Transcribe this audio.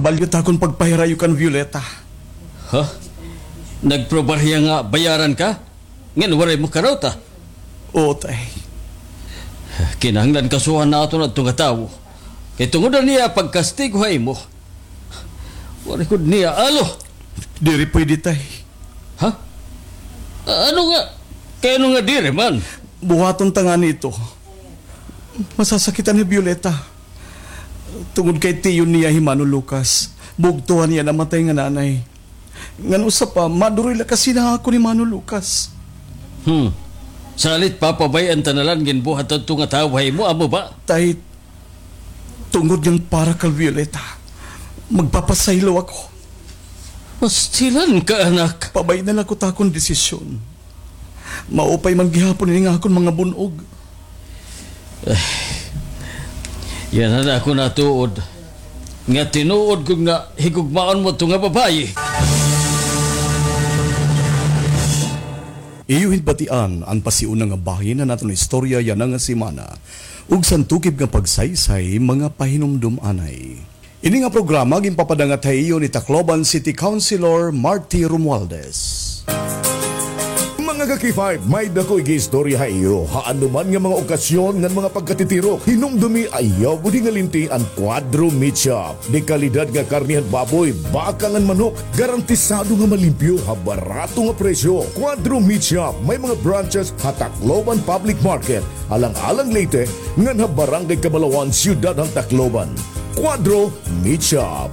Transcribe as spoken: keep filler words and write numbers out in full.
Balyo ta akon pagpahirayo kan Violeta. Ha? Nagprobar hiya nga bayaran ka? Ngan waray mo karawta? Oo, tay. Kinahanglan kasuhan naton adto nga tawo. Kay tungod an iya pagkastigo ha imo, waray gud niya alo. Diri pwede, tay. Ha? Ano nga? Kay ano nga diri man? Buhaton ta ngani ito. Masasakitan hi Violeta. Tungod kay tiyo niya hi Mano Lucas, bugto han iya namatay nga nanay. Ngan usa pa, maduroy la kasi na ako ni Mano Lucas. Hmm. Salit papabay-an ta na la an ginbuhat hadto nga tawo ha imo, amo ba? Tay, tungod ngan para kay Violeta, magpapasaylo ako. Pastilan ka, anak. Pabay-i na la ako ta akon desisyon. Maupay man gihapon ini nga akon mga bun-og. Yana an akon natuod, nga tinuod ko nga higugmaon mo ito nga babaye. Iyo hit batian an pasiuna nga bahin han aton istorya yana nga semana. Ug san tukib nga pagsaysay, mga pahinumdom anay. Ini nga programa ginpapadangat ha iyo ni Tacloban City Councilor Marty Romualdez. Mga ka-K five, may-ada ko igiistorya ha iyo. Ha anoman nga mga okasyon ngan mga pagkatitirok, hinumdomi, ayaw gud hingalinti an Cuadro Meat Shop. Dekalidad nga karne han baboy, baka ngan manok, garantisado nga malimpyo ha barato nga presyo. Cuadro Meat Shop, may mga branches ha Tacloban Public Market, Alang-Alang, Leyte, ngan ha Barangay Cabalawan, Siyudad han Tacloban. Cuadro Meat Shop.